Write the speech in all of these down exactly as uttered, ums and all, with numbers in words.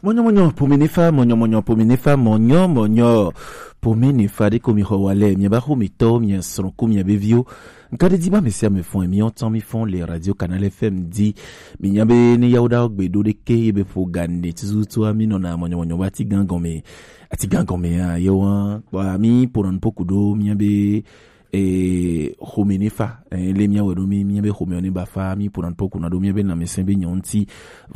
Mɔnyɔmɔnyɔ pomi ne fa, mɔnyɔmɔnyɔ pomi ne fa, mɔnyɔmɔnyɔ pomi ne fa ɖe ko mi xɔ wa lɛ, mi ba xo mi tɔ, mi srɔ̃ ko mi be viwo. Nka ɖe di ba mi sia mi fɔn, mi ɔtɔn mi fɔn le Radio Canal F M di. Mi nya be ne yawo ɖa gbe ɖo ɖe ke ye be ƒo ga ne tututu mi nɔna mɔnyɔmɔnyɔ ba ti gan gɔme. Ati gan gɔme ya ye wa. Wa mi po nan po ku ɖo mi be e, xome ne fa, e, le míawɔe ɖo mí, míabe xomeɔ ne ba fa, mí ƒona nuƒo kuna ɖo míabe lãmesẽ be nyɔ ŋuti.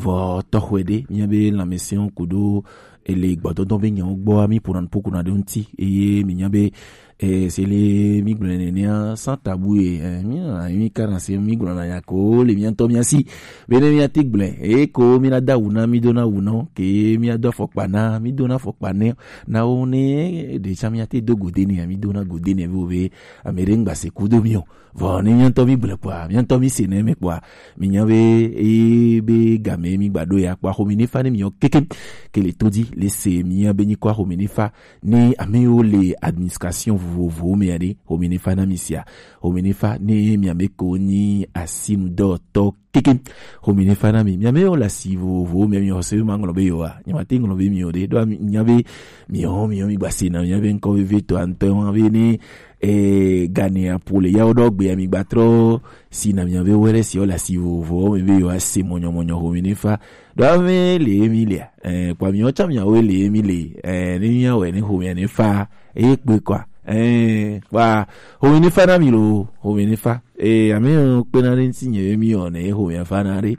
Vɔ tɔxɔe ɖe, míabe lãmesẽwo ku ɖo ele gbɔdɔdɔ be nyawo gbɔa, mí ƒona nuƒo kuna ɖe ŋuti. Eye mí nya be, e, se le mí gblɔe nenea, sans tabou ye, e, mí nɔna mí kana se mí gblɔna nya ko le mía ŋutɔ mía si. Be ne míate gblɔe, eye ko mí na da awu na, mí do na awu na wo, ke mí ado afɔkpa na, mí do na afɔkpa ne, na wo ne ɖe tsã míate do go de nɛ, mí do na go de nɛ be ame ɖe ŋgba se kudo mí o. Vɔ ne mía ŋutɔ mí gblɔe kpɔa, mía ŋutɔ mí se nɛ mɛ kpɔa, mí nya be eye be game mí gba ɖo ya kpɔa, xome ne fa ne mí yɔ keke ke le to di le se mía be nyikɔ xome ne fa ne ame yiwo le administration vovovowo me ya ɖe, xome ne fa na mí sia, xome ne fa ne mía me ko nyi asinudɔtɔ keke. Xome ne fa na mi. Mía me wo le asi vovovowo me, mi xɔse be ma ŋlɔ be yewoa. Nye ma te ŋlɔ be mi o ɖe. Ɖo mi nya be mi hɔn mi hɔn mi gba se na mi nya be ŋkɔ veve to antɔ wa be ne, eh, gane apo le yawo ɖɔ gbe mi gba trɔ si na mi nya be wele si wo le asi vovovowo me be yewoa se mɔnyɔmɔnyɔ xome ne fa. Ɖo ame le mi le. Eh, kpa mi wo tsa mi wo le mi le. Eh, ne mi ya wɛ ne xome ne fa. Eye kpe kɔa. Eh, kpa xome ne fa na mi lo, xome ne fa. Ee, ame yiwo kpena ɖe ŋuti nye be mí wɔnɛ ye xomea fana ɖe.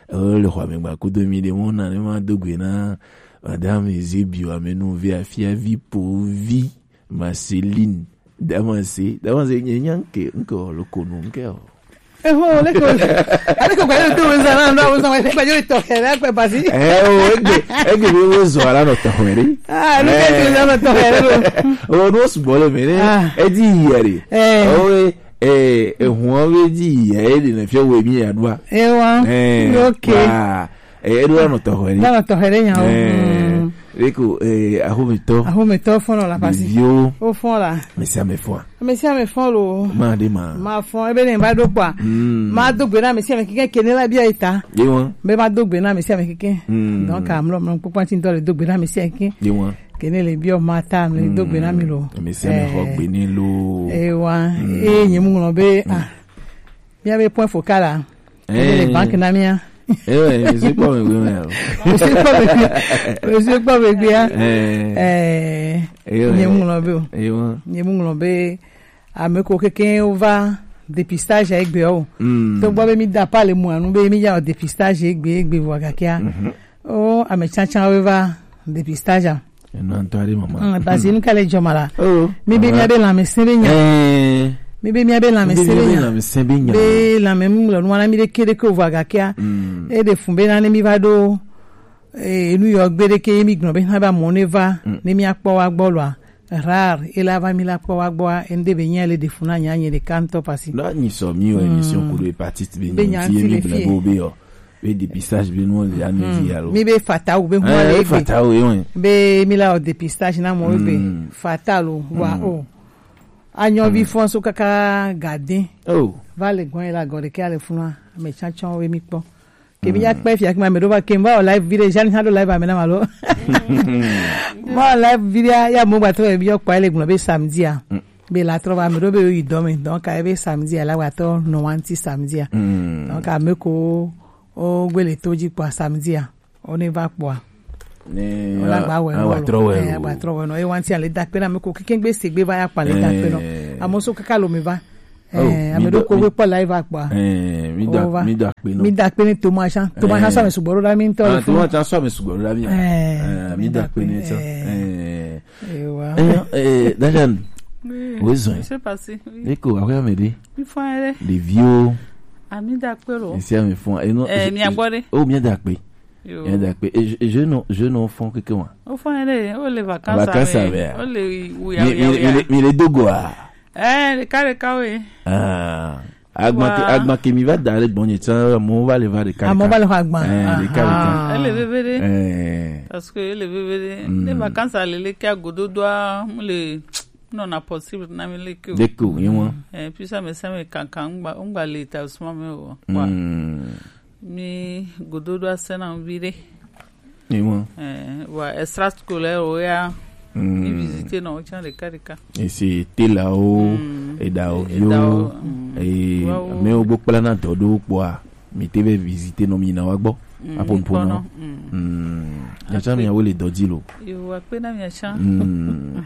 Eo le xɔa me gba kudo mí ɖe mɔ na ne ma do gbe na Madame Eusebio amenuvea fiavi povi Marceline. Damase, damase nye nya nke, nke o lo konu nke o. Eho, leko, aleko kwa yo tu weza na ndo weza wa kwa yo to kera kwa basi. Eh, o egbe, egbe be wo zo ala no to hwere. Ah, no ke tu weza no to hwere lo. O no su bole mere. Ah. E di yere. Eh. O e, eh, e huwa be di yere de na fia we mi ya dua. Ewa. Eh. Okay. Wa. Eh, e dua no to hwere. Na no to hwere nya o. Eh. Mm. Leko, eh, ahometɔ. Ahometɔ fɔlɔ la pasi. Ɖeviwo. O fɔlɔ la. Mesi ame fɔa. Mesi ame fɔlɔ. Ma de ma. Ma fɔ ebe ne ba do kpɔa. Mm. Ma do gbe na mesi ame kike kene la bia eta. Ye wa. Be ma do gbe na mesi ame kike. Mm. Donc amlo mlo kpɔkpɔ ti ntɔ le do gbe na mesi ame kike. Ye wa. Kene le biɔ ma ta mle do gbe na mi lo. Mesi ame xɔ gbe ni lo. E wa. Mm. E nye mu ŋlɔ be ah. Mía be point focal la. Eh. Ele banque na mía. Eh, ouais, je suis pas mauvais, mais, euh. Je suis pas mauvais. Je suis pas mauvais, hein. Eh. Eh. Eh, ouais, nye ouais. Mu ŋlɔ be o. Eh, ouais. Nye mu ŋlɔ be ame ko keke wo va dépistage egbe o. Mm. To gbɔ be mi da pa le mu anu be mi ya dépistage egbe egbe vɔ gakea. Mhm. O ame tsantsan wo va dépistage a. Eno ŋutɔ aɖe mama. Mm, parce que nu ka le dzɔ ma la. Oh. Mi be mama. Mi be mía be lãmesẽ be nya. Eh. Mi be mía be lãmesẽ be nya. Mi be mía be lãmesẽ be nya. Be lãme mu le nua na mi ɖeke ɖeke o vɔ agakea. Mm. E ɖe fun be na ne mi va ɖo, eh, nu yɔ gbe ɖeke mi gblɔ be na be amewo ne va, mm, ne mi akpɔ wa gbɔ lɔa. Rare, e la va mi la kpɔ wa gbɔa, e ŋde be nya le ɖe fun na nya nye ɖeka ŋutɔ pasi. Na nyi sɔ mi o émission kudo hépatite be nya ŋuti ye mi gblɔ be o be yɔ. Be dépistage be nu le anu dzi alo. Mi be fatawu be hu le be. Fatawu ye won. Be mi la o dépistage na mo be. Mm. Fatawu wa o. Anyɔvi fɔn so kaka gade. Oh. Va le gbɔn la gɔde ke ale funa me chanchon we mi kpɔ. Ke mi ya kpe fia ke ma me do va ke va o live video jani ha do live ame na malo. Ma live video ya mo gba to bi yo kpa le gbɔn be samedi a. Mm. Be la trɔ va me do be yi dɔ me. Donc a be samedi a la wa to no wanti samedi a. Mm. Donc a me ko o gbele to dzi kpɔa samedi a, o ne va kpɔa. Ne o la gba wɛ a wa trɔ wɛ o. Agba trɔ wɛ no. E wanti ale dakpe na me ko keke gbe se gbe va ya kpa le dakpe no. Eh. Amo so kaka lo me va. Oh, eh, ame do ko gbe kpɔ live akpɔa. Eh, mi da, mi da kpe no. Mi da kpe ni Thomas Chan. Thomas Chan so me sugboro da mi to. Ah, Thomas Chan so me sugboro da mi. Eh, mi da kpe ni to. Eh. Eh, wa. Eh, eh, Dajan. Oui. Wo zɔn. C'est passé. Oui. Eko, awe amede. Mi fun ere. Des vieux. Ami da kpe lo. Esi ami fun. E no. Eh, mi agbore. Oh, mi da kpe. Yo. Mi da kpe. E je, je no, je no fun keke wa. O fun ere, o le vacances. Vacances ame. O le wuya, mi, wuya, mi, wuya. Mi le, mi le dogo a. Eh, le kare kawe. Ah. Agba ke, agba ke mi va da le gbɔnye tsa mo va le va de kare. Ah, mo va le va agba. Eh, de kare. Ah. Ele veve de. Eh. Parce que ele veve de. Mm. Ne vacances a le le ke agododoa, mo le nɔna possible na mi le ke o. Deko, ye wa. Eh, puis ça me, ça me kankan ngba, ngba le ta suma me o. Wa. Mm. Mi gododo asena vide. Ni wọn. Eh, wa extra scolaire o ya. Mm. Mi visiter nɔ o can ɖeka ɖeka. Esi telawo, mm, edawo viwo, edawo, mm, eh, wawo. Amewo gbɔ kpla na dɔ ɖo kpɔa, mi te be visiter nɔ mi na wa gbɔ. Mm, apo npo nɔ. Mm. Mm. Nyatsa mi awo le dɔ di lo. Yo, wa kpe na mi atsa. Mm.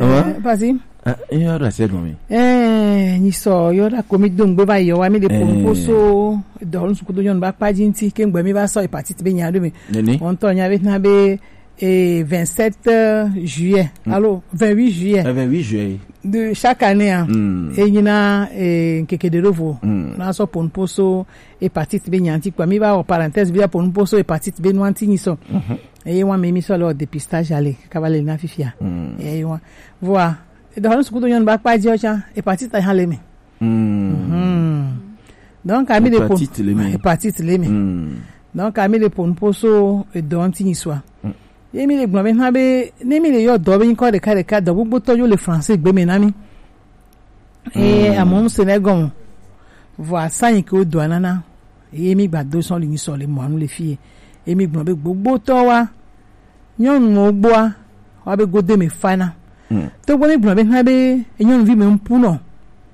Eh, vas-y. Ah, il y a la seconde. Eh, ni so yo da komi dongbe ba yo wa mi de pomposo do nsu kudo yon ba pa jinti ke ngbe mi ba so hépatite be nya do mi. Nini? On to nya be na be eh, vingt-sept juillet. Mm. Alors, vingt-huit juillet. Eh, vingt-huit juillet. De chaque année, hein. Mm. Et il y a, eh, quelques de vous. Mm. Na so pomposo hépatite be nya anti quoi. Mi ba o parenthèse, bi pomposo hépatite be no anti ni so. Mhm. Et moi, mi so le dépistage aller, cavale na fifia. Mm. Et moi, voilà. Et donc, ce que nous avons pas dit, tiens, hépatite à l'aimer. Mm. Mhm. Donc, ami de pon-, hépatite l'aimer. Hépatite l'aimer. Mm. Donc, ami de pon poso, et donc, ni soit. Mm. Ye mi le gbɔn be hã be, ne mi le yɔ dɔ be nyikɔ ɖeka ɖeka, dɔ gbogbo tɔ yo le français gbe me na mi. E, mm, amu se ne gɔn. Vɔ asa yi ke o dɔ nana. Ye mi gba do sɔn le nyi sɔ le mɔ anu le fie. Ye mi gbɔn be gbogbo tɔ wa. Nyɔnu mo gboa. Wa be gode me fana. Mm. To gbɔ mi gbɔn be hã be, nyɔnu vi me mpu nɔ.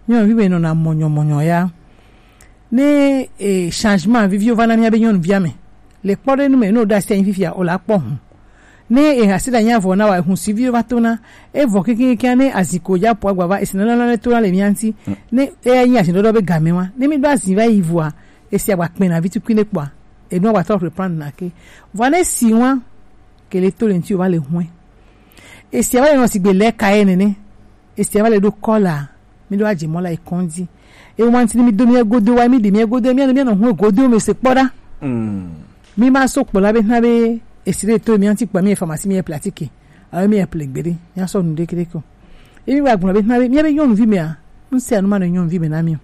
Nyɔnu vi me nɔ na mɔnyɔ mɔnyɔ ya. Ne, eh, changement viviwo va na mía be nyɔnuvia me. Le kpɔ ɖe nu me, ne o ɖe asi anyi fifia, o la kpɔ hu. Ne e hasi ɖe anyi avɔ na wa, ehu si viwo va to na, e vɔ kekeŋ ne azi ko dza po agba va, esi nana nana to na le mía ŋuti. Mm. Ne e nyi azi ɖɔɖɔ be game wa, ne mi ɖo azi va yi vɔa, esi agba kpɛ na vi tukui ne kpɔa, enu agba tɔ reprendre na ke. Vɔa ne si wa, ke le to le ŋuti o va le hue. Esi va le nɔ sigbe lɛ ka ye nene. Esi va le ɖo kɔ la, mi ɖo adze mɔ la yi kɔndzi. E wa ŋuti mi do mi godo wa, mi ɖi mi godo, mi anɔ, mi anɔ hu godo me se kpɔ ɖa. Mm. Mi ma so kpɔ la be na be esi ɖe to mi anti kpɔ mi pharmacie mi pratique. Ayo mi ple gbe ɖe, mi asɔ nu ɖeke ɖeke o. E mi wa gblɔ be na be, mi be nyɔnuvi mea, ŋse anu ma nɔ nyɔnuvi me na mi o.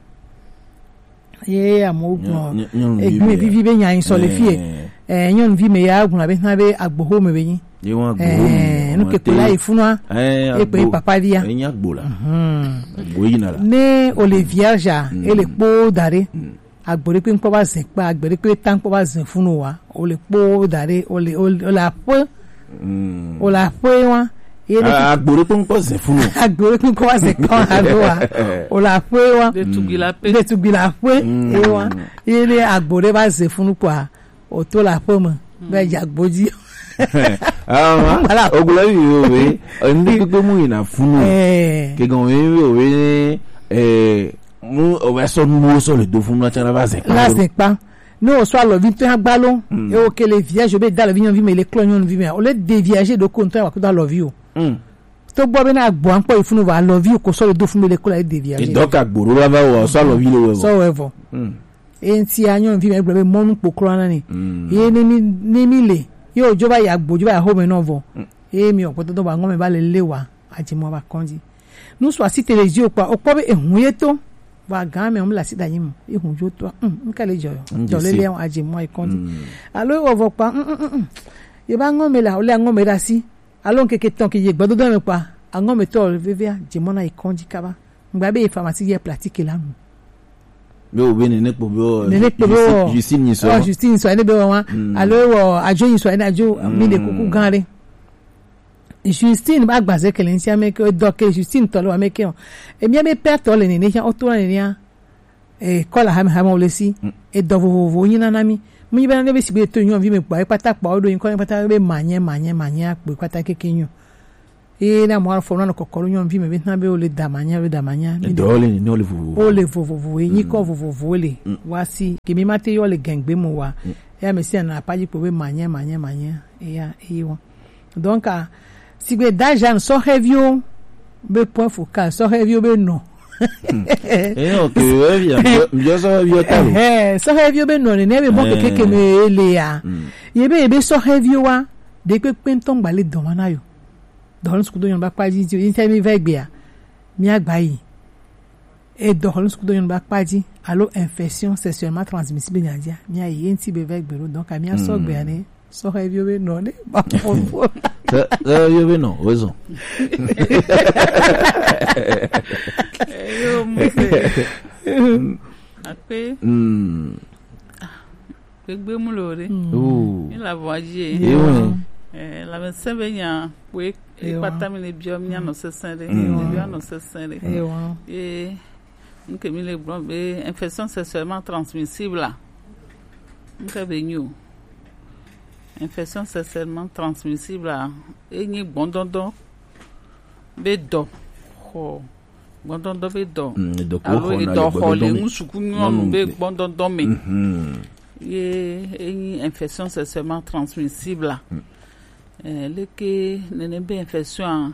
Ye amewo gblɔ, nyɔ-, nyɔ-, nyɔnuvi egbe mea, vivi be nya yi sɔ le fie. Eh, nyɔnuvi me ya gblɔ be na be agboho me be nyi. Ye wa agboho me, eh, nu ke kula yi funua. Eh, e pe agbo, papa via. Enya agbo la. Mhm. Agbo yi na la. Ne o le vierge a, mm, e le kpo da ɖe. Mm. Agbo ɖe kpe ŋkpɔ va zɛ kpa, agbo ɖe kpe ta ŋkpɔ va zɛ funu wa. O le kpo da ɖe, o le, o le, o le aƒe. Mm. O le aƒe wa. Ye ne a-, agbo ɖe kpe ŋkpɔ zɛ funu. Agbo ɖe kpe ŋkpɔ va zɛ kpa wa ɖo wa. O le aƒe wa. Ɖetugbi la ƒe. Ɖetugbi la ƒe. Mm. Ye wa. Ye ne agbo ɖe va zɛ funu kpɔa, o to le aƒe me. Mm. Be dza gbo dzi. Ah, voilà. Ogblɔ yi o we. Enu kpekpe mu yina funu. Eh. Ke gan we we we, eh, mu o va sɔ nuwo sɔ le do funu na tsana va zɛ kpa. La zɛ kpa. Ne o sɔ alɔvi ŋutɔ hã gba lo, mm, e o ke le vierge be da alɔvi nyɔnuvi me le klɔ nyɔnuvi me, o le déviager ɖo ko ŋutɔ wa ko da alɔvi o. Mm. To gbɔ be na agbo ankpɔ yi funu va alɔvi o ko sɔ le do funu me le klɔ le déviager. E dɔ ka gboro la va o sɔ alɔvi le wɛ vɔ. Sɔ wɛ vɔ. Mm. E ŋuti a nyɔnuvi me gblɔ be mɔnu kpoklo na ni. Mm. Ye ne mi, ne mi le, ye o dzo va yi agbo dzo va yi axome nɔ vɔ. Mm. Ye mi o kpɔtɔ dɔ ba ŋɔ me va le le wa. Adze mɔ va kɔndzi. Nu sɔ asi te le dzi o kpa, o kpɔ be ehu ye to. Va gan me o mu le asi da nyi mo. Ehu jo to. Mm, nka le jɔ yo. Jɔ le le adze mɔ yi kɔndzi. Mm. Alo o vɔ kpa, mm, mm, mm, mm. Ye ba ŋɔ me la, o le ŋɔ me da si. Alo nkeke tɔn ke ye gbɔdodo me kpa. Aŋɔ me tɔ vevia, adze mɔ na yi kɔndzi kaba. Ngba be ye pharmacie ye pratique la nu. Be o be nene kpo be o. Nene kpo be o. Justine, Justine ni sɔ. Oh, Justine sɔ, ene be o wa. Mm. Alo o, ajo ni sɔ, ene ajo, mm, mi de kuku gan re. Justine ba gbaze kele nsi ame ke dɔ ke Justine tɔ le wa me ke o. E mi be père tɔ le nene sia o to nene ya. E kɔla hame hame o le si. Mm. E dɔ vovovo nyi na na mi. Mu nyi be na ne be si be to nyɔnuvi me kpa, e kpata kpa o do nyi kɔ, e kpata be manye, manye, manye akpo, e kpata keke nyo. Ye na mɔ afɔ na kɔkɔrɔ nyɔnuvi me be na be o le damanya, o le damanya. E dɔ le nene o le vovovo. O le vovovo, e nyi kɔ vovovo le. Mm. Wa si, ke mi ma te yɔ le gengbe mo wa. Mm. Ya me si na pa ji kpo be manye, manye, manye. E ya, e wa. Donc, ah, sigbe da Jeanne, sɔhɛviwo be point focal, sɔhɛviwo be nɔ. Hmm. Eh, ok, ouais, bien, bien, bien, sɔhɛviwo ta lo. Eh, sɔhɛviwo be nɔ, ne, ne be mɔ keke ke me ele ya. Hmm. Ye be, ye be sɔhɛviwo wa, de kpekpe ŋutɔ ŋgba le dɔ wa na yo. Dɔ nu sukudo nyɔnu ba kpa ji, ji, ji, mi va egbe ya. Mi agba yi. E dɔ xɔlɔ̃ sukudo nyɔnu ba kpa ji, alo infection sexuellement transmissible nya jia, mia yi ye ŋuti be va egbe ɖo, donc amia sɔ gbe ane, sɔhɛviwo be nɔ ne ba fɔ fɔ. Sɔhɛviwo be nɔ, woezɔ. Yo, muse. Akpe. Mm. Gbegbe mu le o ɖe. Oh. Mi le avɔa dzi ye. Ewa. Eh, lãmesẽ be nya kpoe. Ewa. Ekpata mi le biɔ mi anɔ sesẽ ɖe. Mm. Mi biɔ anɔ sesẽ ɖe. Ewa. Ye, nke mi le gblɔ be infection sexuellement transmissible a. Nke be nyo. Infection sexuellement transmissible a. Enyi gbɔndɔndɔ be dɔ xɔ gbɔndɔndɔ be dɔ. Mm, edɔ ko alo xɔna edɔ le xɔ le gbɔndɔndɔ me. Ŋu suku nyɔnu nyɔnu be be gbɔndɔndɔ me. Mhm. Ye enyi infection sexuellement transmissible a. Mm. Eh, leke nene be infection a,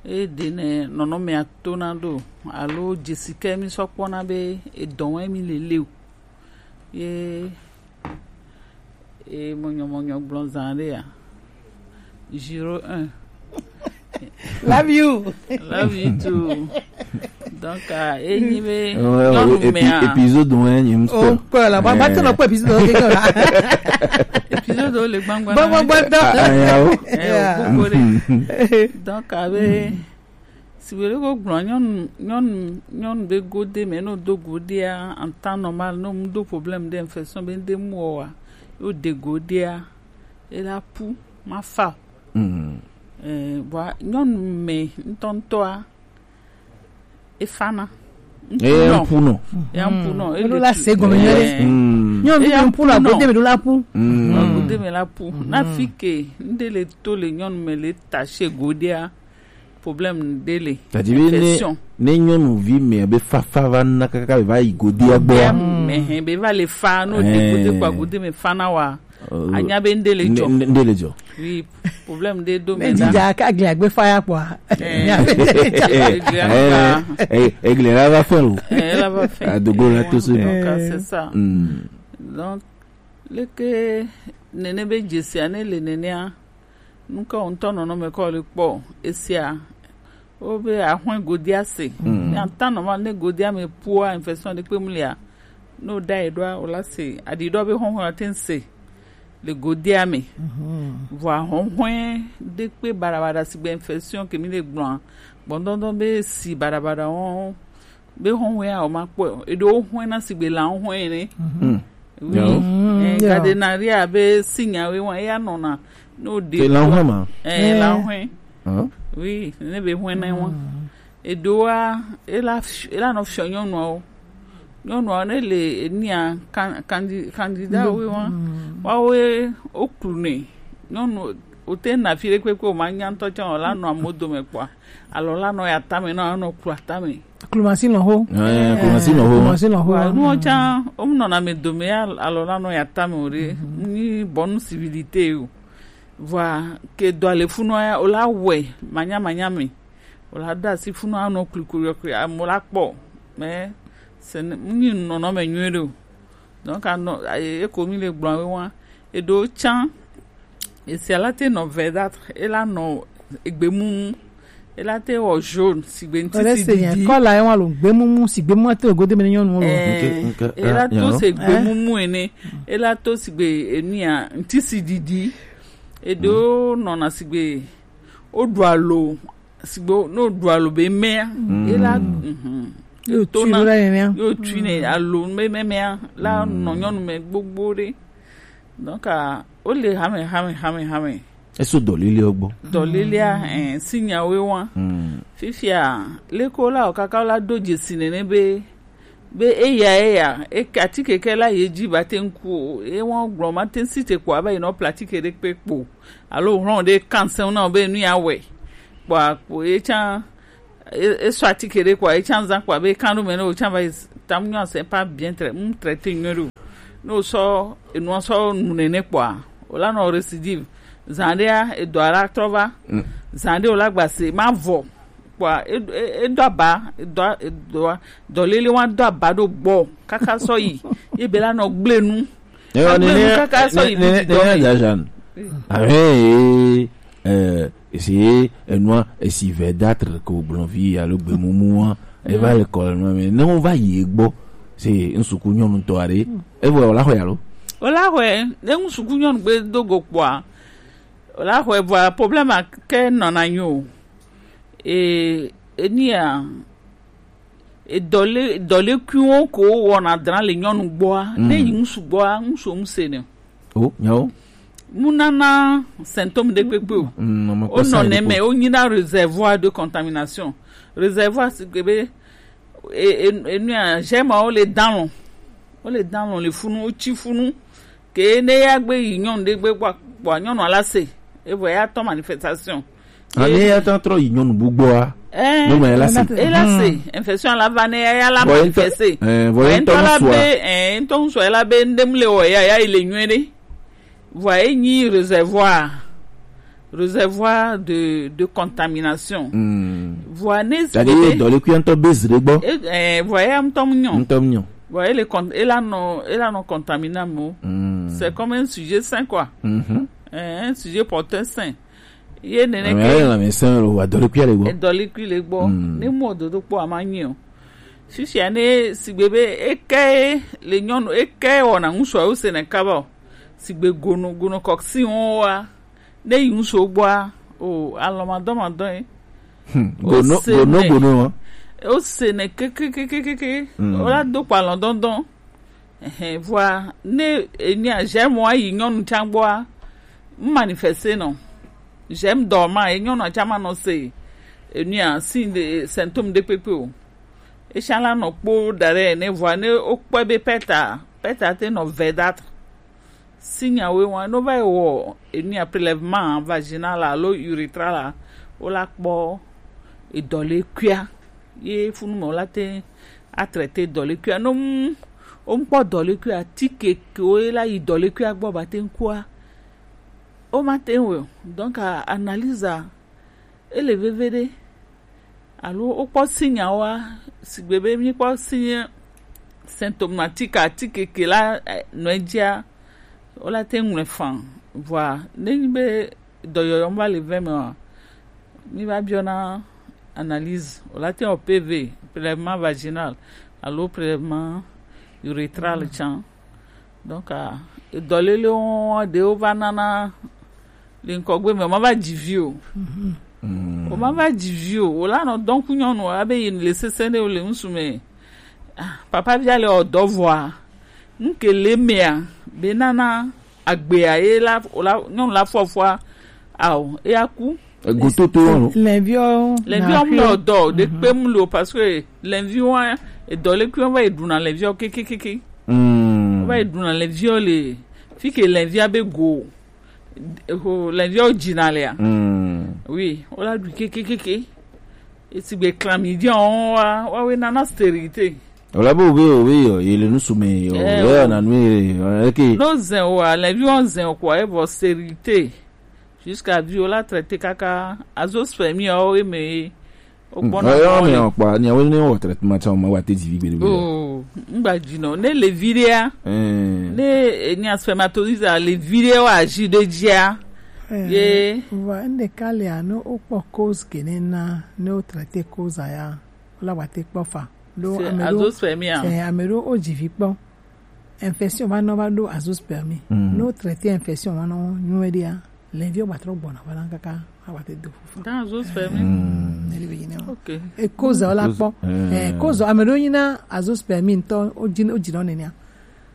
e ɖe ne nɔnɔmea tona ɖo, alo dzesi ke mi sɔ kpɔna be edɔ wɛ mi le le o. Ye, e mɔnyɔmɔnyɔ gblɔ zã ɖe ya. Zéro un. Love you. Love you too. Donc, ah, enyi be, euh, nyɔnu épi-, mea. Épisode un, nyim o kpɔ. Kpɔ la, ba, ba tɛ nɔ kpɔ épisode ke la. Épisode le gbangba. Gbɔ, gbɔ, gbɔ, dɔ. Ah, ah, ya o. Eh, o koko ɖe. Donc, abe, si be ko gblɔ nyɔnu, nyɔnu, nyɔnu be gode me, no do godea, en temps normal, no mu do problème de infection be de mu wa, yo de godea, e la pu, ma fa. Mm. Eh, bua, nyɔnu me ŋutɔŋutɔa, e fana. Eh, ŋkunɔ. Ŋkunɔ. Ya ŋkunɔ. Mm. E le la tu-, se gɔme nyuie ɖe. Eh. Mm. Nyɔnu e ya ŋkunɔ, ŋkunɔ. Gode me ɖo la pu. Mm. Gode me la pu. Mm. Na fi ke, ŋɖe le to le nyɔnu me le ta she godea, problème ɖe le. C'est-à-dire ne, infection. Ne nyɔnuvi me be fafa va na kaka va yi godea gbɔa. Godea me, hɛn, be va le fa, no de gode kpɔ gode me fa na wa. Euh, anya be ŋɖe le dzɔ. Ŋɖe, ŋɖe le dzɔ. Oui, problème ɖe do me da. Ne dida ka gli agbe fa ya kpɔa. Eh, eh, eh, eh, egle la va fɛ lo. Eh, la va fɛ. Adogo la to so. Donc, ah, c'est ça. Hmm. Donc, leke nene be dzesia ne le nenea, nuka wo ŋutɔ nɔnɔme kɔ le kpɔ esia. Wo be ahɔ̃e godia se. Mm. Ne ata nɔ ma ne godia me pua infection ɖe kpe mu lia. No da yi ɖoa, o la se. Aɖi ɖɔ be hɔ̃hɔ̃e wa te se le godia me. Mhm. Vɔ ahɔ̃hɔ̃e ɖe kpe baɖabaɖa si gbe infection ke mi le gblɔa. Gbɔndɔndɔn be si baɖabaɖa wɔn. Be hɔ̃hɔ̃e ya o ma kpɔ. Eɖewo hɔ̃e na si gbe la hɔ̃e ne. Mm. Oui. Yawo. Mm, eh, yeah. Cadenaria be sinya we wa ya nɔna. No de. Te la hɔ̃e ma. Eh, la hɔ̃e. Huh? Oui, ne be hɔ̃e na wa. Mm. Eɖewoa, ela f-, ela nɔ fiɔ nyɔnuawo. Nyɔnuawo ne le enia kan-, kandi-, kandida wo wa. Mm. Wa wo ye, wo klu ne. Nyɔnu, o te na fi ɖe kpekpe o ma nya ŋutɔ tsã o la nɔ amo dome kpɔa. Alɔ la nɔ ya tame, nɔ anɔ klu atame. Klumasi nɔ ho. Eh, klumasi nɔ ho. Klumasi nɔ ho. Wa, nuwo tsã, wo mu nɔna me dome ya, alɔ la nɔ ya tame o ɖe. Mhm. Ni bonne civilité o. Vɔa, ke dɔ le funua ya, o la wɛ, manya, manya me. O la da si funua nɔ klikli, klikli, amo la kpɔ. Mais, c'est n-, ni nɔnɔme nyuie ɖe o. Donc, anɔ, e, e ko mi le gblɔ we wa. Eɖewo tsã, esia la te nɔ verdâtre, e la nɔ egbemumu, e la te wɔ jaune, sigbe ŋtisi didi. Kɔla ye wa lo, gbemumu, si gbemumu te gode me nyɔnu lo. Eh, ok, ok, e la to se gbemumu ene, e la to sigbe enia, ŋtisi didi. Eɖewo nɔna sigbe, o ɖu alo, sigbe, no ɖu alo be mea, e la, mhm. Yo tui ɖo la ye mea. Yo tui ne alo be mea, la nɔ nyɔnu me gbogbo ɖe. Donc, ah, o le hame, hame, hame, hame. Eso dɔlele gbɔ. Dɔlelea, eh, sinya we wa. Mm. Fifia, leko la o kaka la do dzesi nene be, be eya, eya, e ka atike ke la ye dzi ba te ŋku o, e wa gblɔ ma te si te kpɔ abe yi nɔ pla atike ɖe kpe kpo. Alo hlɔn ɖe kanse na be nu ya wɛ. Kpɔ, kpɔ, e tsã, e, e sɔ atike ɖe kpɔ, e tsã zã kpɔ, be kan ɖo me ne o tsã va yi s-, tam nyɔ c'est pas bien trai-, mm, traité nyɔ ɖo. Ne o sɔ, enua sɔ nu nene kpɔa, o la nɔ récidive. Zã ɖea, edɔ la trɔ va. Mm. Zã ɖe o la gba se, ma vɔ. Kpɔa, e, e, e do aba, e do a-, e do a-, dɔlele wa do aba ɖo gbɔ, kaka sɔ yi. Ye be la nɔ gble nu. Ewa, agble nu nene, kaka sɔ yi nene, didi nene dɔ me. Jajan. Ahe, eh, esi enua, esi verdâtre ko gblɔvi alo gbemumua, eva le kɔ le nua me. Ne wo va yi egbɔ, se ŋsuku nyɔnu tɔ aɖe, evɔ o la xɔe alo? O la xɔe, ne ŋsuku nyɔnu gbe do go kpɔa, o la xɔe vɔa problème a ke nɔna nyo. E, enia, Edɔle dɔlekuiwo ko wɔna dra le nyɔnu gbɔa, ne yi ŋsu gbɔa, ŋsu ŋse ne. Oh, nyawo. Mu nana symptôme ɖe kpekpe o. Mm, ame kpɔ Wonɔ sign ne ɖe me, kpɔ. Wonyina réservoir de contamination. Réservoir si gbe be e- e- enua, germe wo le dalɔn. Wo le dalɔn le funu, wotsi funu. Ke ne ya gbe yi nyɔnu ɖe gbe gbɔ, gbɔ nyɔnu ala se. Evɔ ya tɔ manifestation. Ani ya tɔ trɔ yi nyɔnu bu gbɔa. Eh, Nyɔnu ya la se. E la se, infection la va ne ya ya la Vɔ ye ŋutɔ- manifeste. Eh, vɔ ye Vɔ ye ŋutɔ ŋutɔ la ŋusua. Be, eh, ŋutɔ ŋusua la be ŋɖem le wɔ ya, ya yi le nyuie ɖe. Vɔa ye nyi réservoir, réservoir de de contamination. Mm. Vɔa ne C'est-à-dire, dɔlekuia ŋutɔ be zi ɖe gbɔ. E- eh, vɔa ya ŋutɔ mu nyɔ. Ŋutɔ mu nyɔ. Vɔa ele con- ela nɔ ela nɔ contaminam o. Mm. C'est comme un sujet sain quoi. Mhm. Eh, un sujet porteur sain. Ye nene Ame ke ale lãmesẽ lo wa dɔlekuia le gbɔ. Edɔlekui le gbɔ. Mm. Ne mɔ dodo kpɔ ama nyi o. Fifia ne sigbe be eke le nyɔnu eke wɔna ŋusu awo se ne kaba o. Sigbe gono gono kɔksi wɔn wa. Ne yi ŋusu gbɔa, o alɔ ma dɔ ma dɔ ye. Hmm. Gono Ose gono ne. Gono wa. O se ne kekekekeke. Mm. O la do kpa lɔ dɔndɔn. Ɛhɛn, vɔa ne enia germe wa yi nyɔnu tsa gbɔa, m manifeste nɔ. Germe dɔ ma ye nyɔnu tsa ma nɔ se enia si de symptôme de kpekpe o. Esia la nɔ kpo da ɖe ne vɔa ne wokpɔe be pɛta, pɛta te nɔ verdâtre. Signe awoe wa no va yi wɔ enia prélèvement vaginal alo urethral la, wo la kpɔ edɔlekuia. Ye funu me wo la te a traiter dɔlekuia. No mu wo ŋkpɔ dɔlekuia, tike ke wo la yi dɔlekuia gbɔ ba te ŋkua. Wo ma te ŋ wɔ o. Donc analyse a, ele veve ɖe. Alo wokpɔ signe awoa, sigbe be míkpɔ signe symptomatique atike ke la eh, nɔ edzia, wo la te ŋlɔe fan. Vɔa ne nyi be dɔyɔyɔ va le vɛ me wa, mi va biɔna analyse, wo la te wɔ P V, prélèvement vaginal alo prélèvement urethral tsã. Donc ah, dɔlele wo ɖewo va nana le ŋkɔgbe me ma va dzi vi o. O ma va dzi vi o, o la nɔ dɔn ku nyɔnu abe yi le sese ne o le ŋsu me. Ah, papa via le ɔdɔ vɔa, ŋke le mea be nana agbea ye la o la nyɔnu la fɔfɔa ao eya ku. Egototo wɔn. Lɛnviɔ. Lɛnviɔ mu le ɔdɔ ɖe kpe mu le o parce que lɛnviɔ edɔlekuiɔ va yi ɖuna lɛnviɔ kekekeke. Mm. Va yi ɖuna lɛnviɔ le fi ke lɛnvia be go. Ho lɛnviɔ dzina lea. Mm. Oui, o la ɖu kekekeke. Esigbe chlamydia wɔn wa wa we nana stérilité. O la be o be o be yɔ ye le nusu me yɔ Eh, ye o. Yɔ na nu ye yɔ eke. No zɛn o wa lɛnviɔ zɛn o kɔ e vɔ stérilité. Jusqu'à vie o la traité kaka azoospermie o e me. O gbɔna Ɔyɔ mɔ mi le. Ɔkpa ni awo ne wɔ traitement tsa o ma wa te dzi vi gbeɖe gbeɖe. Oh, ŋgba dzi nɔ ne le vi ɖea. Eh. Ne enia spermatozoïde a le vi ɖe wa dzi ɖe dzia. Eh, ye. Vɔa ŋɖeka lia ne wokpɔ cause ke ne na ne wo traité cause a ya, wo la wa te kpɔ fa. Ɖo C'est ame ɖo azoospermie a. C'est ame ɖo wo dzi vi kpɔ. Infection va nɔ va ɖo azoospermie. Mm. Ne wo traité infection va nɔ nyuie ɖea, lɛnviɔ gba trɔ gbɔna va na kaka agba te do fufa. Dans azoospermie. Mm. Ne li be yi ne o. Ok. E cause wo la kpɔ. Eh. Eh, cause ame ɖo nyina azoospermie ŋtɔ o dzi o dzi nɔ nenea.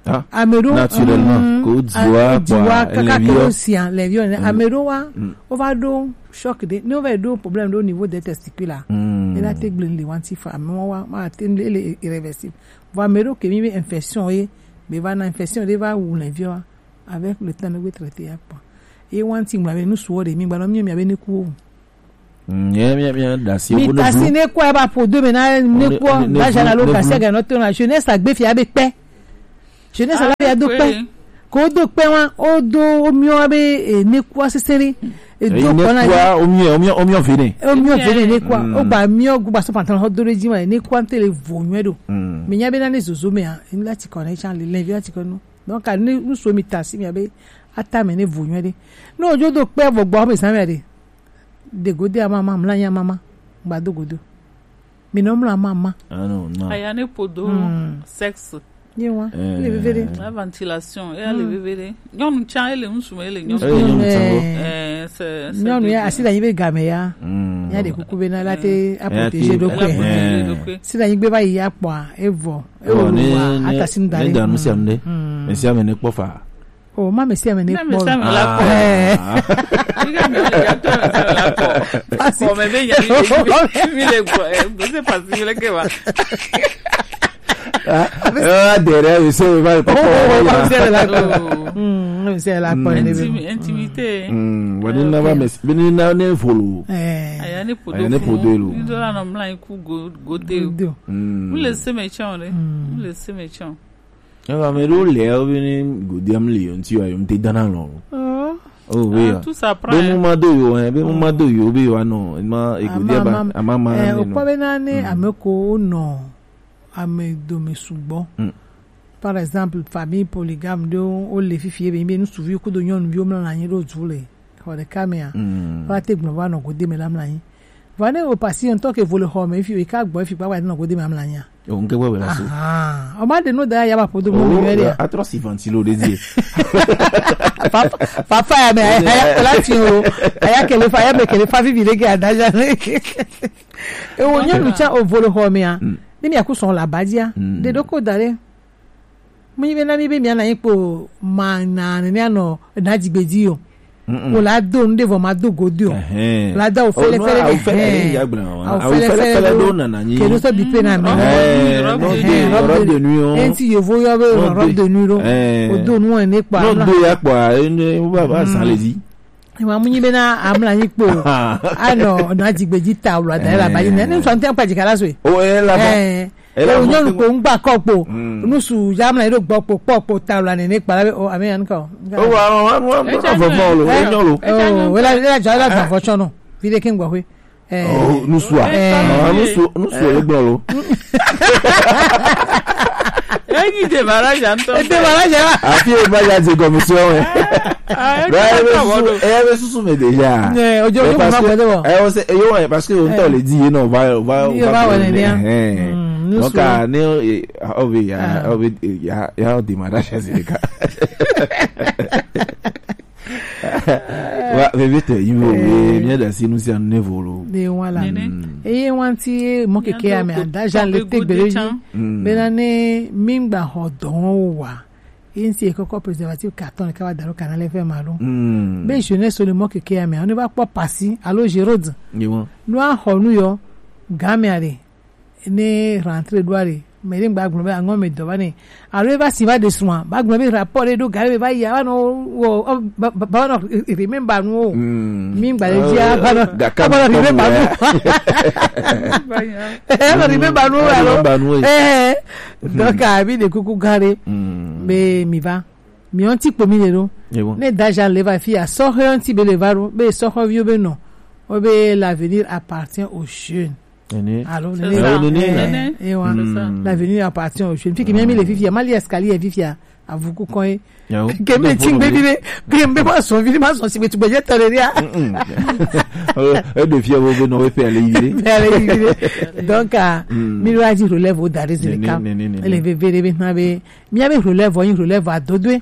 Ah. Ame ɖo naturellement mm, ko a- dziwa o dziwa kwa kaka ke lɛnviɔ. O sia lɛnviɔ ne ame ɖo wa o va ɖo choc de ne o va ɖo problème ɖo au niveau des testicules la. Mm. Ne la te gblẽ le wanti fa ame wa ma te le le irréversible. Vɔ ame ɖo ke mi be infection ye be va na infection ɖe va wu lɛnviɔ avec le temps ne be traité ya kpɔ. Ye wanti ŋgba be nu suwɔ ɖe mi gba nɔ mi mi abe ne ku o. Mm, ye mi mi da si Mi wo ne tasi blu. Ne kua ba po do me na ne Ne- kua ne- ne ba jana blu- lo ne kasi blu. Ga no to na jeunesse agbe fia be kpɛ. Jeunesse la ya do kpɛ. Ko do kpɛ wa o do o miɔ be e ne kua sesere. E do Eyi ne kpɔ na kua ye. Omiɔ omiɔ omiɔ vene. O miɔ vene ne kua Mm. o gba miɔ gba so pantalon ho do le ji ma ne kua te le vo nyuie ɖo. Mm. Mi nya be na ne zozo me a la ti kɔ ne chan le le vi la ti kɔ no. Donc a ne nu so mi tasi mi abe ata me ne vo nyuie ɖe. No jo do kpɛ vo gbɔ me sa me de. De gode a mama mla nya mama gba do godo. Mi no mla mama. Ah non, non. Aya ne podo Mm. Sexe. Ye wa. Eh. Le veve de. La ventilation, e le veve de. Nyɔnu tsa e le ŋsu me e le nyɔnu. Eh, nyɔnu tsa. Eh, c'est c'est Nyɔnu ya asi da yi be game ya. Mm. Ya de kuku be na la te a protéger do kwe. Si na yigbe ba yi akpɔ a, evɔ. Ewo ne wa, ne ata si nu da ne le. Da nu sia nu de. Mesi ame ne kpɔ fa. O ma mesi ame ne kpɔ. Mesi ame la kpɔ. Ni ga mi ya to mesi ame la kpɔ. Ko me be ya mi le gbɔ. Eh, bo se pasi le ke ba. Ah, dere mi se ba papa. Mesi ame la kpɔ. Intimité. Wani na ba mesi, bini na ne volo. Aya ne podo. Aya ne podo lo. Ni do la no mla ku go go de. Mu le se me chon le. Mu le se me chon. Ewa, ame ɖewo le wo be ne godia mli yo ŋuti wa yo ŋuti dana lɔ. Oh. Oh, oui. Ah, ya. Tout ça prend, be mu ma do yo, hein, be mu ma do yo be yo anɔ ma egodia ba ama ma eh, ne o no. Kpɔ be na ne ame ko nɔ ame dome sugbɔ. Par exemple, famille polygame ɖewo wo le fifi be be ŋutsuvi kudo nyɔnuviwo mla na anyi ɖo du le xɔ ɖeka mea. Wa te gblɔ va nɔ gode me la mla anyi. Vɔ ne o pasi ŋutɔ ke vo le xɔ me fi o ka gbɔ fi kpakpa nɔ gode me amla nya. O nke gbɔ bela so. Ah, o ma de no da ya ba podo mo mi ya. Atro si ventilo de die. Papa ya me ya ko la ti o. Ya ke le fa ya me ke le fa fi bi de ke adaja. E o nya nu cha o vo le xɔ me a. Ni mi akuson la badia. De do ko dare. Mi be na mi be mi ana ipo ma na ne anɔ na digbeji o. O la do nu ɖe vɔ ma do godi o. La da o fɛlɛ fɛlɛ de. Awo fɛlɛ fɛlɛ do nana nyi. Kenu sɔ bi pe na mi. Robe de nuit o. Enti yevo yɔ be robe de nuit do. O do nu ne kpa. No do ya kpa ne ba ba san le di. Ewa mu nyi be na amla nyi kpo. Anɔ na digbeji ta wla da la ba yi ne. Ne sɔ ntɛ pa jikala so. O e la ba. Ele o nyɔnu ko ŋgba kɔ kpo. Nusu jamla eɖo gbɔ kpo kpɔ kpo ta wla nene kpala be o ame yan kɔ. O wa wa wa wa vɔ vɔ lo e nyɔ lo. O wela wela ja wela vɔ tsɔ nɔ. Fi de ke ŋgbɔ xwe. Eh. Oh, nusua. Eh. Ah, nusu nusu e gbɔ lo. Enyi de mara ja ntɔ. E de mara ja. Afi e ba ja de commission e. Ah, e be susu me déjà. Eh, ojo ojo ma gbede wo. Eh, o se yo parce que on t'a le dit non va va va. Donc ah ne o be ya o be ya ya o démarrage c'est le cas. Wa vevete yiwo we mi da si nu si anu ne volo. De wala. Eye wanti mo keke ya me ada ja le te gbere yi. Bena ne mi ngba ho don wa. Ye ŋuti ye kɔkɔ préservatif carton ɖeka va da ɖo kana le fɛ ma ɖo. Be jeunesse le mɔ keke ya mea, ne va kpɔ pasi alo Gérode. Ne va xɔ nu yɔ, game aɖe, ne rentrée ɖo aɖe, mɛ ɖe ŋgba gblɔ be aŋɔ me dɔ va nɛ. Alo eva si va ɖe srɔ̃a, va gblɔ be rapport ɖe ɖo game va yi, va nɔ wɔ, va nɔ remember nuwo. Mi ŋgba ɖe dzia, va nɔ, va nɔ remember nuwo. Va nɔ remember nuwo alo. Donc, ah, mi ɖe kuku gã ɖe. Be mi va. Mi ŋuti kpo mi le ɖo. Ne da ja le va fi ya, sɔhɛ ŋuti be le va ɖo, be sɔhɛ viwo be nɔ. O be l'avenir appartient aux jeunes. Alo ne. L'avenir appartient aux jeunes. Fi ke mi mi le fifi ya, ma li escalier fifi ya. Avuku kɔn ye. Ke mi ti ŋgbe vi ɖe, ke mi be ma sɔ vi ɖe, ma sɔ si be tu be je tɔ ɖe ɖia. E ɖo fia wo be nɔ we pe ale yi ɖe. Pe ale yi ɖe. Donc, ah, mi ɖo aji relève o da ɖe zele kam. Ele veve ɖe be na be, mi a be relève o, yi relève a dodoe.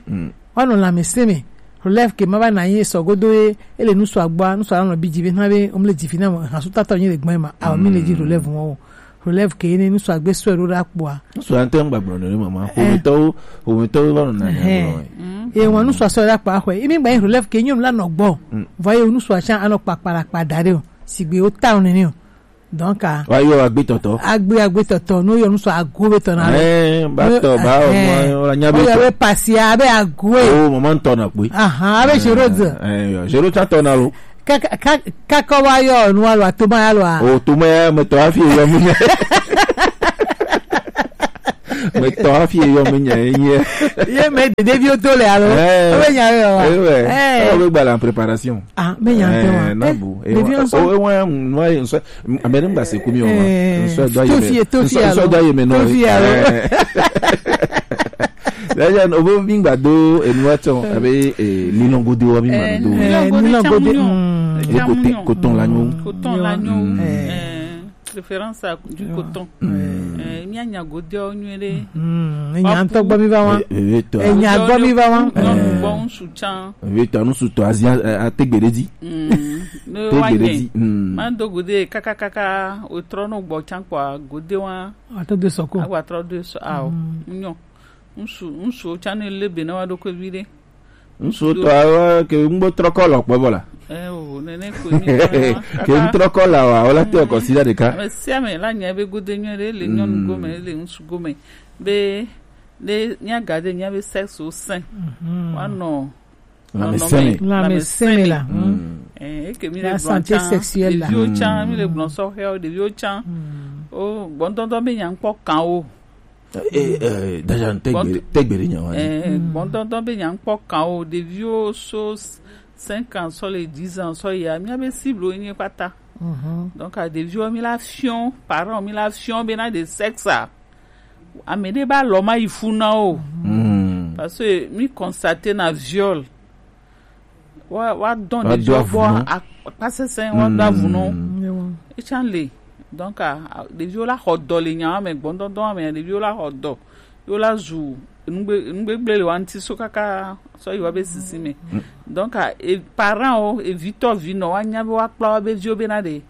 Wa nɔ lãmesẽ me. Relève ke ma va na yi sɔ godo ye, ele nusu agbɔa, nusu anɔ bi ji be na be, o mi le ji fi na mo, ha su tata o nyi le gbɔn ma, a o mi le ji relève mo o. Relève ke ne nusu agbe sɔe ɖo ɖa kpoa. Nusu ante ŋgba gblɔ ne mama. Ƒometɔwo, ƒometɔwo va nɔ na ne gblɔ. Ye ŋua nusu asɔ ɖa kpa xɔe. Emi gba yi relève ke nyɔnu la nɔ gbɔ. Vɔ ye nusu atsa anɔ kpakpa la kpa da ɖe o. Sigbe o ta o nene o. Donc, ah. Wa yɔ agbe tɔtɔ. Agbe agbe tɔtɔ. No yɔ nusu ago be tɔ na lo. Eh, ba tɔ, ba o ma, o la nya be tɔ. Yɔ be pasia be ago e. O mama ŋutɔ na kpe. Aha, abe Gérode. Eh, yɔ, Gérode tsa tɔ na lo. Kakɔ wa yɔ nua lɔa, toma ya lɔa. O toma ya me tɔ hafi yɔ mi nya. Me tɔ hafi yɔ mi nya ye. Ye me de ɖeviwo to le alo. Eh. O be nya yɔ wa. Eh, ouais. Eh. O be gba la préparation. Ah, me nya te wa. Eh, na bu. Eh, wa. O wa nua ye nso. Ame ne gba se ku mi o ma. Nso do ye me. Tofi alo. Nso do ye me no. Tofi alo. D'ailleurs, o bo mi gba do enu wa tso. Abe ni no gode wa mi ma do. Ni no gode. Coton la nyo. Coton la nyo. Eh, préférence à du coton. Eh, Mía nya godeawo nyuie ɖe. Hmm, enya ŋutɔ gbɔ mi va wa. Vevetɔ. Enya gbɔ mi va wa. Nyɔnu gbɔ ŋutsu tsã. Vevetɔ, ŋutsu tɔ azi a- a- tegbe ɖe dzi. Hmm, ne wa Tegbe ɖe nye. Dzi. Hmm. Ma do gode kakakaka, o trɔ no gbɔ tsã kpɔa, gode wa. Ato de sɔko. Agba trɔ do sɔ, ao. Hmm. Nyɔ. Ŋutsu, ŋutsuwo tsã ne le be na wa ɖokui vi ɖe. Ŋutsu tɔ awo ke ŋgbo trɔ kɔ lɔ kpɔ bɔ la. Eh, o, nene ko mi kɔ na. Ke ŋtrɔ kɔ la wa, wala te kɔ si da ɖeka. Ame sia ame la nya be gode nyuie ɖe le nyɔnu gome, le ŋutsu gome. Be, ne mía gade mía be sexe au sein. Mhm. Wa nɔ Lãmesẽ me. Lãmesẽ me la. Mm. Eh, eke mi le La gblɔ santé tsã, sexuelle la. Ɖeviwo tsã, mi le gblɔ sɔxɛwo, ɖeviwo tsã. Mm. O, gbɔdɔdɔ be nya ŋkpɔ kan o. Eh, eh, déjà, tegbe, tegbe ɖe nya wa. Eh, gbɔdɔdɔ be nya ŋkpɔ kan o, ɖeviwo so cinq ans, sɔ le dix ans, sɔ ya, mía be cible wo nye kpata. Mhm. Donc, a ɖeviwo mi la fiɔ, parents mi la fiɔ be na ɖe sexe a. Ame ɖe ba lɔ ma yi fu na o. Mm. Parce que mi constate na viol. Wa, wa dɔn ɖeviwo gbɔ a-, akpa sesẽ, wa do avu nɔ. Mm. Etsã le. Donc, a, a, ɖeviwo la xɔ dɔ le nya me, gbɔdɔdɔ me, ɖeviwo la xɔ dɔ. Yo la zu nugbe-, nugbegble le wa ŋuti so kaka sɔ yi wa be sisi me. Mm. Donc, a, e, parent o, e vitɔ vinɔ, wa nya be wa kpla wa be viwo be na ɖe.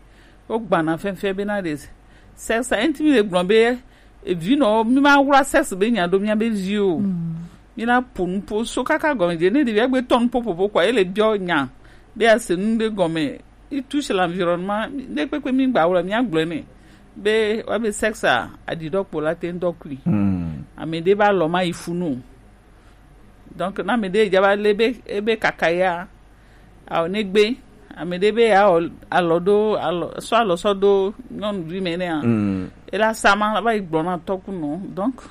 Wo gbana fɛnfɛn be na ɖe. Sexe, enti mi le gblɔ be, e vinɔ, mi ma wla sexe be nya ɖo mía be vi o. Mm. Mi na po nupo so kaka gɔme dze. Ne ɖevia gbe tɔ nupo popo kɔa, ele biɔ nya. Be a se nu ɖe gɔme. Il touche l'environnement. Ne kpekpe mi gba wla, mía gblɔe nɛ. Be, wa be sexe a, aɖi ɖɔ kpo la te ŋdɔ kui. Mm. Ame ɖe ba lɔ ma yi fu nu. Donc, na ame ɖe dza va le be, ebe kaka ya, ao ne gbe, ame ɖe be ya o alɔ ɖo, alɔ, sɔ alɔ sɔ ɖo nyɔnuvi me nea, mm, ela sa ma, la va yi gblɔ na tɔkunɔ. Donc,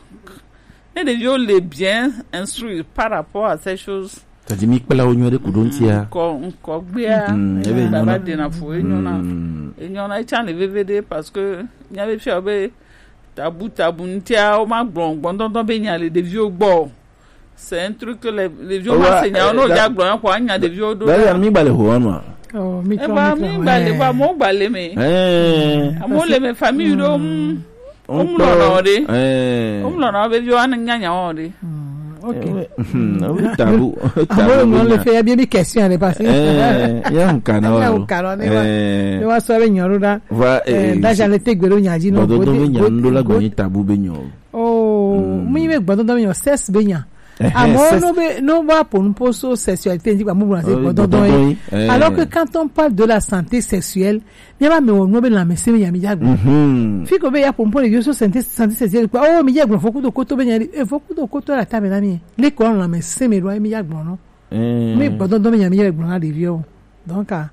ne ɖeviwo le bien instruit par rapport à ces choses, tadi mi kpla wo nyuie ɖe ku ɖo ŋutia. Ŋkɔ, ŋkɔ gbea, mm, ebe baba nyɔnu. Dena fo, enyɔna. Mm. Enyɔna, etsã le veve ɖe parce que, mía be fia be, tabu, tabu ŋutia, wo ma gblɔ gbɔdɔdɔ be nya le ɖeviwo gbɔ. C'est un truc que les, les vieux vont se nya, on a déjà gblɔ ya ko anya ɖeviwo ɖo. D'ailleurs, mi gba le ho wa nua. Oh, mi kɔ, mi gba le, ba mo gba le me. Eh. Amo le me famille ɖo, mm. O mu lɔ na o de. Eh. O mu lɔ na o be viwo anya nya o de. Mm, ok. Eh, oui. Mhm, oui, tabu, tabu. Amo le fɛ ya bi question de passer. Eh, ya un kana. Ya un kana ne wa. Eh. Ne wa so be nyoro da. Va, eh, eh, daja le te gbero nya ji no. Gbɔdɔdɔ be nya ndo la gbɔ ni tabu be nyo. Oh, mm. Mi be gbɔdɔdɔ be nyo, sexe be nya. Eh, eh, amo sexe. No be, no ba po nu po so sexualité ndi ba mo bla se gbɔdɔdɔ yi. Eh. Alors que quand on parle de la santé sexuelle, mi ba me wo no be la me se me ya mi ja gbɔ. Mhm. Fi ko be ya po po le yo so santé, santé sexuelle quoi. Oh, mi ja gbɔ fo ku do koto be nya, e fo ku do koto la ta me na mi. Le ko la me se me do mi ja gbɔ no. Eh. Mi gbɔdɔdɔ be nya mi ja gbɔ na ɖeviwo. Donc, a,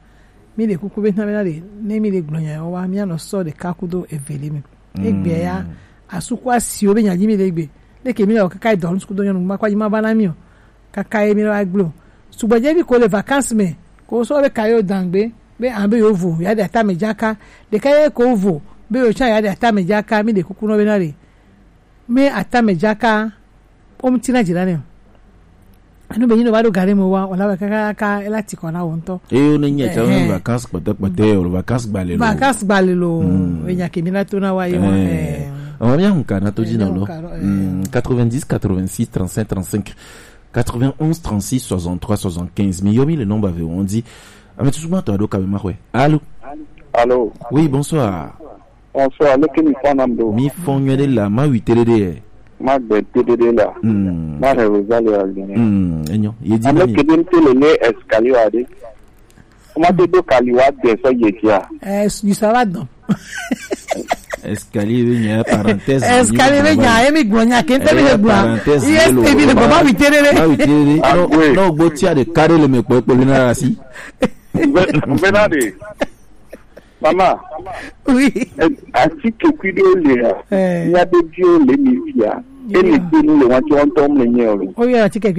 mi le kuku be na be na le, ne mi le gblɔ nya wa, mi anɔ sɔ ɖeka kudo eve le mi. Egbe ya, mm, asuku asiwo be nya ji mi le gbe. Leke mi le kaka dɔ nu suku do nyɔnu ma kwa ji ma va na mi o. Kaka ye mi le wa gblɔ. Sugbɔ je bi ko le vacances me, ko sɔ be ka yo dangbe, be an be yo vo, ya de ata me jaka. De ka ye ko vo, be yo cha ya de ata me jaka, mi le kuku no be na le. Mi ata me jaka, o mu tina jira ne. Enu be nyi no ba ɖo gare me wa, o la be kaka, kaka, ela ti kɔ na wo ŋutɔ. Eyo ne nye tsa, eh, vacances kpɔtɔ kpɔtɔ, o vacances gba le lo. Vacances gba le lo. Mm. E nya ke mi na to na wa ye wa, eh. Eh. Ɔmɔ mi ahun ka na to dzi na lo. Eh, mi ahun ka, eh. Mm, quatre-vingt-dix, quatre-vingt-six, trente-cinq, trente-cinq, quatre-vingt-onze, trente-six, soixante-trois, soixante-quinze. Mi yɔ mi le nɔmba ve wɔn dzi. Ame tutu ma tɔ aɖo ka mi ma xɔe. Allô? Allô? Oui, bonsoir. Bonsoir, leke mi fɔ nam ɖo? Mi fɔ nyuie ɖe la, ma wi te ɖe ɖe. Ma gbe te ɖe ɖe la. Hmm. Ma he Rosalie wa gbe. Hmm, enyo. Ye di na mi. Ame ke ɖe te le ne escalier wa ɖe. Ma te do kali wa de sɔ ye dia. Eh, you sava dans. Escalier be nya, parenthèse. Escalier be nya, emi gblɔ nya ke te mi le gblɔ. Parenthèse. Yes, ebi le gblɔ, ma wi te ɖe ɖe. Ma wi te ɖe ɖe. Ah, no, oui. No, gbo tia de kare le me kpɔ kpɔ le na asi. Mbe, mbe na de. Mama. Oui. Eh, atike kui ɖewo le ya. Eh. Mía be viwo le mi fia. Yeah. Ele te nu le wa tso ŋutɔ mu le nye o. O yɔ atike